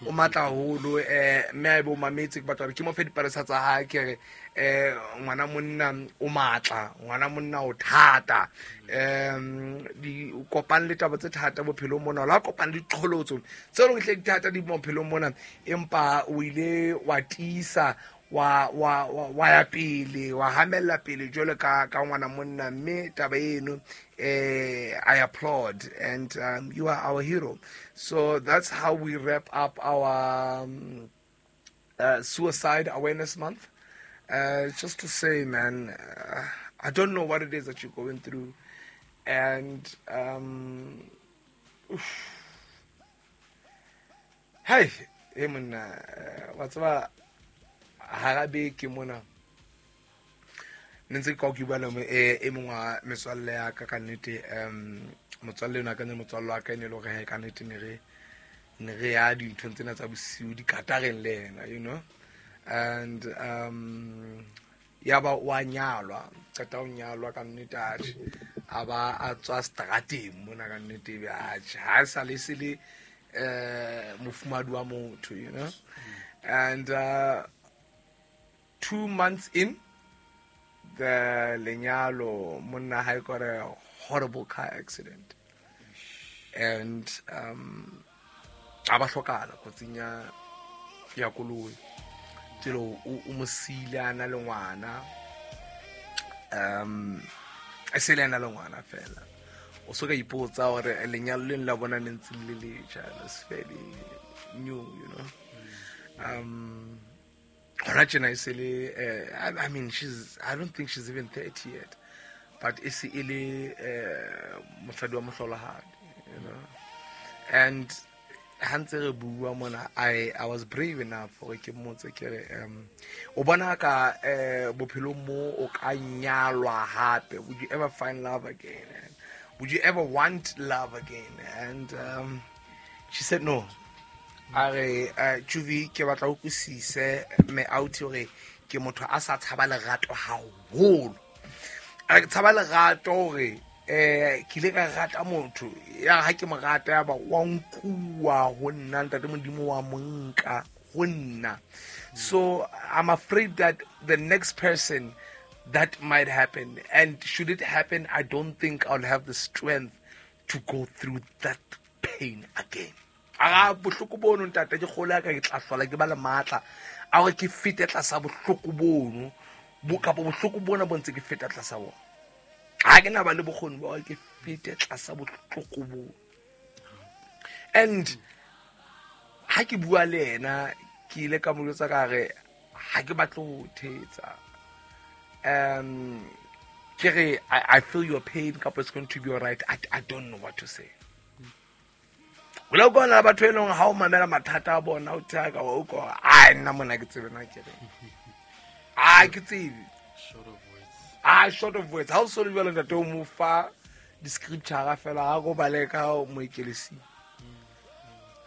O matla haholo, mme a ebe o mametse, ke batla hore ke mo fe dipalesa tsa hae. Ke re, ngwana monna o matla, ngwana monna o thata, di kopang le taba tse thata bophelong mona, la kopang le diqholotso tse leng hle di thata di bophelong mona, empa o ile wa tiisa, wa ya pele, wa hamella pele jwalo ka ngwana monna. Mme taba eno, I applaud, and you are our hero. So that's how we wrap up our Suicide Awareness Month. Just to say, man, I don't know what it is that you're going through, and hey, hey, monna, wa tseba, hara beke mona ne ntse ke ka ke bua le e mongwe wa metswalle ya ka. Ka nnete, motswalle ena ka ne motswalle wa ka e ne e le hore ka nnete ne re ya dinthong tsena tsa bosiu dikatareng le yena, and ya ba wa nyalwa, qeta ho nyalwa, ka nnete, atjhe, a ba a tswa strateng mona. Ka nnete, ebe atjhe, ha e sa le se le mofumadi wa motho, and 2 months in the lenyalo, monna hae got a horrible car accident and a ba hlokahala kotsing ya koloi. Tselo o mo siile a na le ngwana, e se le ena le ngwana fela. O so ka ipotsa hore lenyalo leng la bona ne ntse le letjha, it's fairly new. Hona tjena e se le, I mean, she's I don't think she's even 30 yet, but e se e le mosadi wa mohlolohadi. And ha ntse re bua mona, I was brave enough hore ke mmotse, ke re, o bona ka bophelong mo o ka nyalwa hape, would you ever find love again, and would you ever want love again? And she said no. A re, Juvi, ke batla o utlwisise me out hore ke motho a sa tshaba lerato haholo. A re, ke tshaba lerato hore ke ile ka rata motho ya ha ke mo rata, ya ba wa nkuwa ho nna, ntate Modimo wa mo nka ho nna. So I'm afraid that the next person, that might happen, and should it happen, I don't think I'll have the strength to go through that pain again. A bohloko bono, ntate, ke kgolo ya ka ke tla hlola ke ba le matla a hore ke fete tlasa bohloko bono bo kapa bohloko bona bo ntse ke feta tlasa bona. Ha ke na ba le bokgoni ba hore ke fete tlasa bohloko bo. And ha ke bua le yena, ke ile ka mo jwetsa ka re ha ke batle ho thetsa, ke re, I feel your pain, kapa it's going to be all right. I don't know what to say. O le kona batho e leng ha o mamela mathata a bona, o thaka wa utlwa, ai, nna mona ke tsebe na ke reng, a ke tsebe. Short of words. Ah, short of words. Ha o so le jwalo, ntate, o mo fa di-scripture fela, ha ko bale ka mo ekelesi,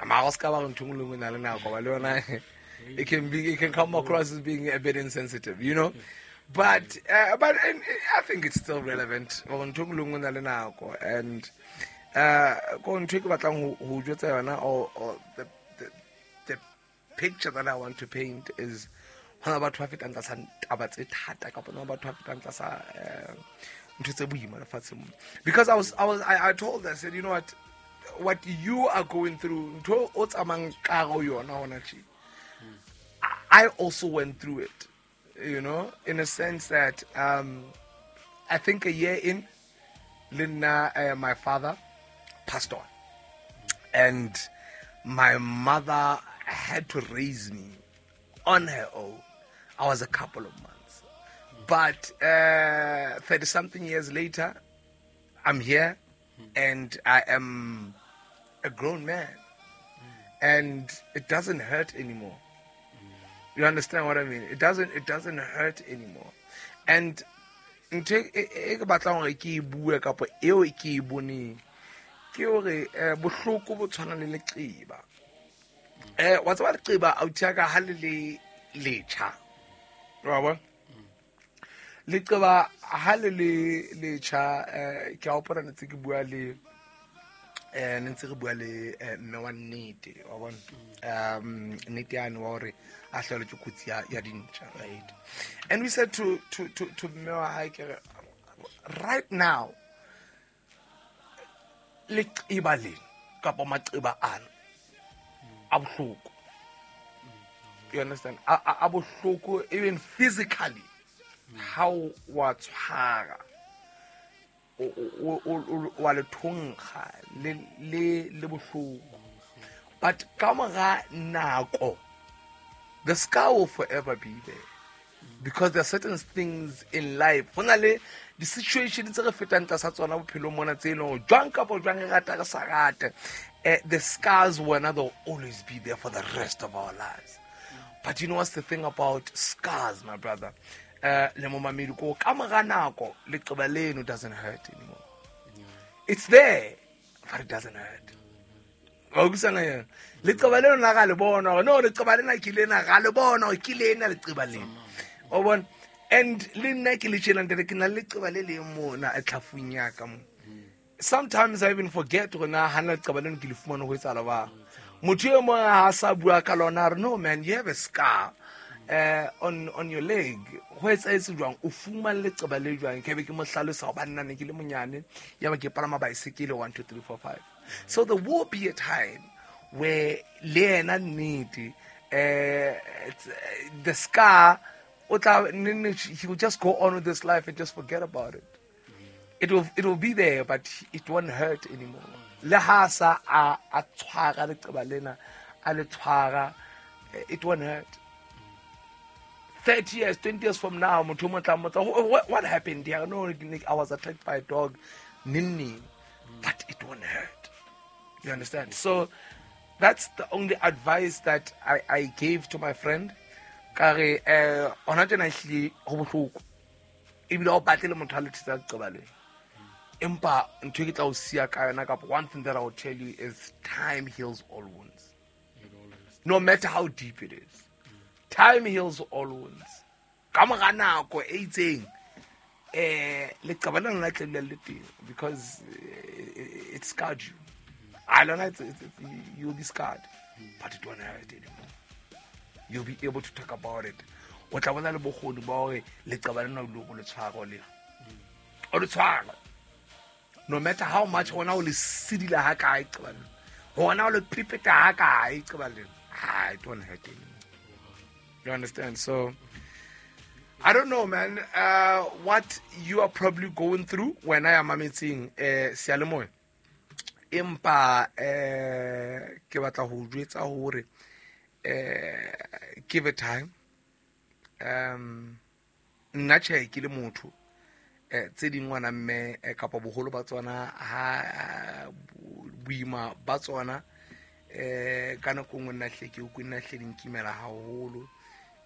mara o se ka ba re ntho e nngwe le nngwe e na le nako ba le yona. It can come across as being a bit insensitive, but I think it's still relevant gore ntho e nngwe le nngwe e na le nako. And ko ntho e ke batlang ho jwetsa yona, or the picture that I want to paint is hona batho ba fetang tlasa taba tse thata, kapa hona batho ba fetang tlasa ntho tse boima lefatsheng mona. Because I told her, I said, "You know what you are going through, ntho o tsamayang ka go yona hona tje, I also went through it, in a sense that I think a year in, le nna, my father passed on. And my mother had to raise me on her own. I was a couple of months. But 30 something years later, I'm here and I am a grown man. And it doesn't hurt anymore. You understand what I mean? It doesn't hurt anymore. And ntho e ke batlang hore ke e bue kapa eo ke e boneng ke hore bohloko bo tshwana le leqeba. Wa tseba leqeba, authi ya ka, ha le le letjha. Wa bona? Leqeba ha le le letjha, ke a hopola ne tse ke bua le Ne ntse re bua le mme wa nnete, wa bona, nnete yane wa hore a hlahelwe ke kotsi ya dintja, right? And we said to mme wa hae, ke re, right now leqeba lena kapa maqeba ana a bohloko, you understand? A bohloko even physically, how wa tshwara wa le thonkga le bohloko, but ka mora nako the scar will forever be there, because there are certain things in life, go na le di-situation tse re fetang tlasa tsona bophelong mona, tse e leng gore jwang kapa jwang, re rata re sa rate, the scars wena, they'll always be there for the rest of our lives. But you know what's the thing about scars, my brother, le momamedi, ko ka mora nako leqeba leno doesn't hurt anymore. It's there, but it doesn't hurt. Wa utlwisisa yena? Leqeba leno la ga le bona hore no, leqeba lena ke lena, ga le bona hore ke lena leqeba lena, o bona? And le nna ke le tjena, ntate, ke na le leqeba le leng mona tlhafung ya ka mo. Sometimes I even forget gore na hana leqeba leno ke le fumane ho etsahala ba motho e mong ha sa bua ka lona, a re, "No man, you have a scar on your leg, ho etsahetse jwang? O fumane leqeba le jwang?" Ke be ke mo hlalosa hobane nna ne ke le monyane, ya ba ke palama baesekele, 1 2 3 4 5. So there will be a time where le yena nnete, the scar o tla he will just go on with this life and just forget about it. It will be there, but it won't hurt anymore. Le ha sa a tshwara leqeba lena, a le tshwara, it won't hurt. 30 years, 20 years from now, motho o mo tla mmotsa, "What happened here?" "No, I was attacked by a dog neng neng," but it won't hurt, you understand? So that's the only advice that I gave to my friend. Ka re, hona tjena ehlile ho bohloko, ebile ha o batle le motho a le thetsa leqeba lena, empa ntho e ke tla o siya ka yona, kapa one thing that I will tell you is time heals all wounds. It always No matter how deep it is, time heals all wounds. Ka mora nako e itseng, leqeba lena la tle le teng, because it scarred you. I don't know, you'll be scarred, but it won't hurt anymore. You'll be able to talk about it. O tla bona le bokgoni ba hore leqeba lena o ile go le tshwara, o le tshwara, no matter how much gona o le sedila ha kae qeba lena, gona o le pepeta ha kae qeba lena, ah, it won't hurt anymore, you understand? So I don't know, man, what you are probably going through when I am mametseng seyalemoya, empa ke batla ho jwetsa hore give it time. Nna tjhe, ke le motho, tse ding ngwana mme, kapa boholo ba tsona, ha boima ba tsona, ka nako nngwe nna hle ke utlwe nna hle di nkimela haholo,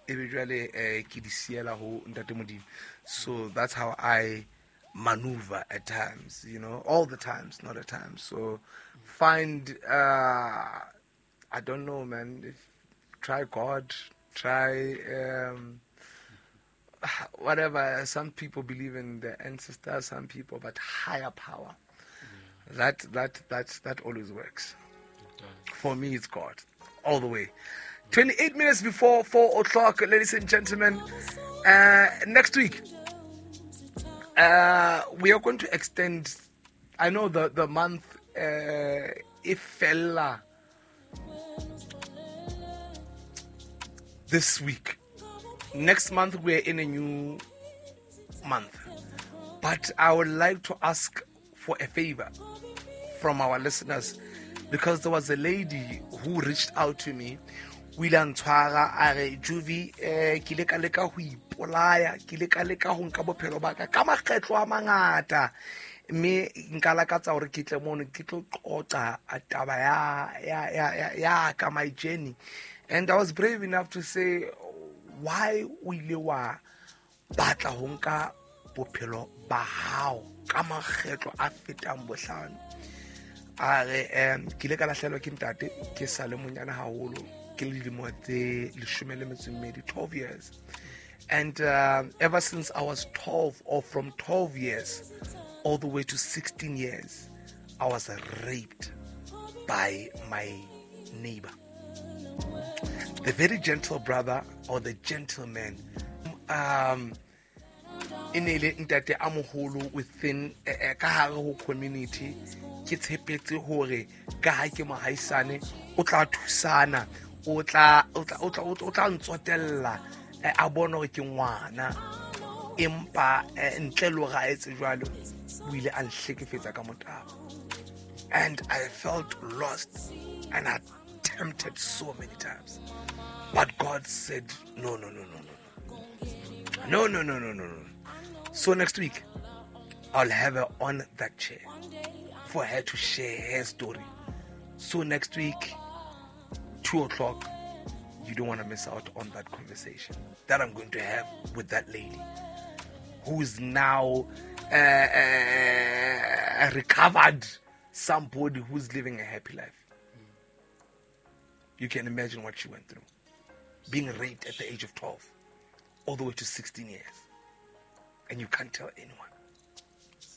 ebe jwale ke di siela ho ntate Modimo. So that's how I maneuver at times, all the times, not at times. So find, I don't know, man, if try God, try whatever. Some people believe in the ancestors, some people, but higher power, that always works. It does. For me, it's God all the way. 28 minutes before 4 o'clock, ladies and gentlemen. Next week, we are going to extend. I know the month, if fella this week. Next month, we're in a new month. But I would like to ask for a favor from our listeners, because there was a lady who reached out to me. O ile a ntshwara, a re, "Juvi, ke ile ka leka ho ipolaya, ke ile ka leka ho nka bophelo ba ka ka makgetlo a mangata, mme nka lakatsa hore ke tle mono ke tlo qoqa taba ya ka, my journey." And I was brave enough to say, "Why o ile wa batla ho nka bophelo ba hao ka makgetlo a fetang bohlano?" A re, "Ke ile ka lahlehelwa ke ntate ke sa le monyane haholo, ke le dilemo tse 12, 12 years, and ever since I was 12, or from 12 years all the way to 16 years, I was raped." by my neighbor. The very gentle brother or the gentleman, e ne le ntate a moholo within ka hare ho community. Ke tshepetse hore ka ha ke mohaisane o tla thusana, o tla ntsotella, a bone hore ke ngwana. Empa ntle le hore a etse jwalo, o ile a nhlekefetsa ka motabo. And I felt lost and I tempted so many times. But God said, no, no, no, no, no. No, no, no, no, no, no. So next week, I'll have her on that chair for her to share her story. So next week, 2:00, you don't want to miss out on that conversation that I'm going to have with that lady who is now recovered somebody who's living a happy life. You can imagine what she went through. Being raped at the age of 12, all the way to 16 years. And you can't tell anyone.